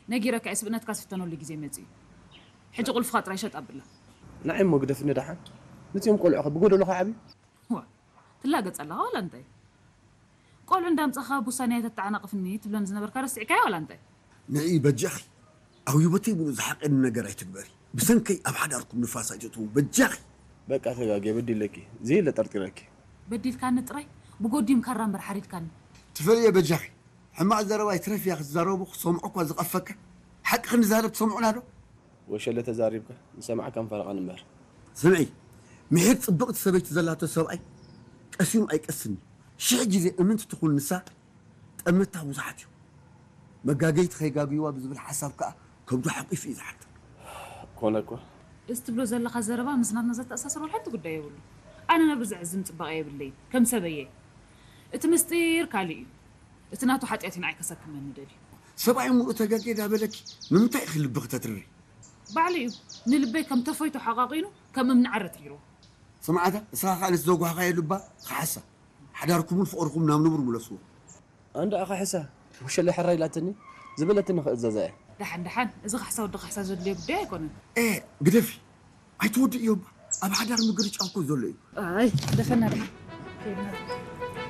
ነጊረካ እየ፣ ስብእነትካ ዝፍተነሉ ግዜ መጺኡ። ሕጂ ቁልፍኻ ጥራይ ሸጥ ኣብላ። ንዓይ እሞ ግደፍኒ ደሓን። ነዚኦም ቆልዑ ብጎደሎ ከዓብዩ። ዋ፣ ትላገጽ ኣለኻ ዋላ እንታይ? ቆልዑ እንዳምጻኻ ብውሳኔ ኣይተተዓናቕፍኒ ትብለኒ ዝነበርካ ረሲዕካዮ ዋላ እንታይ? ንዒ በጃኺ፣ ኣብ ህይወተይ ምሉእ ዝሓቀኒ ነገር ኣይትግበሪ። ብሰንከይ ኣብ ሓዳርኩም ንፋስ ኣይትእትዉ በጃኺ። በቃ ተጋግየ በዲለኪ፣ ዘየለ ጠርጢረኪ። በዲልካኒ ጥራይ ብጎዲም ካራ እምበር ሓሪድካኒ። ትፈልየ በጃኺ፣ ሕማቕ ዘረባ ይትረፍ እያ ክትዛረቡ ክሰምዖ እኳ ዝቐፈካ። ሓቂ ክንዛረብ ትሰምዑና ዶ? ወሸለ ተዛሪብካ ንሰማዕካን ፈረቓን እምበር። ስምዒ፣ ምሒር ጽብቕቲ ሰበይቲ ዘላቶ ሰብኣይ ቀሲኑ ኣይቀስን እዩ። ሽሕ ግዜ እምንቲ ትኹን ንሳ ጠመታ ብዙሓት እዩ። መጋገይቲ ከይጋግይዋ ብዝብል ሓሳብ ከኣ ከብዱ ሓቂፉ እዩ ዝሓድር። ኮነ እኳ። እዚ ትብሎ ዘለኻ ዘረባ ምስ ናትና ዘተኣሳስር ወላ ሓንቲ ጉዳይ የብሉ። ኣነ ነብሪ ዘዕዝም ጽባቐ የብለይን፣ ከም ሰበየ። እቲ ምስጢር ካልእ እዩ። እቲ ናቱ ሓጢኣት እዩ ንዓይ ከሰክመኒ ደልዩ። ሰብኣይ ሙሉእ ተጋግየ ዳበለኪ ንምንታይ ኢኺ ልብኺ ተትርሪ? ባዕሉ እዩ ንልበይ ከም ተፎይቶ ሓቋቒኑ ከም እምኒ ዓረት ገይርዎ። ስምዓታ እስኻ ከኣ ነቲ ዘጓህኻዮ ልባ ክሓሳ ሓዳርኩምን ፍቕርኹም ናብ ንቡር ምለስዎ። ኣንዳ ኣኻ ሕሳ ወሸለ ሕራይ ኢላትኒ ዝበለትኒ ክእዘዛ እየ። ደሓን ደሓን እዚ ካሕሳ ወዲ ካሕሳ ዘድልዮ ጉዳይ ኣይኮነን። ኤ ግደፊ ኣይትወድእዮ እባ ኣብ ሓዳር ምግርጫው እኮ ዘሎ እዩ። ኣይ ደፈና ደሓን ከይድና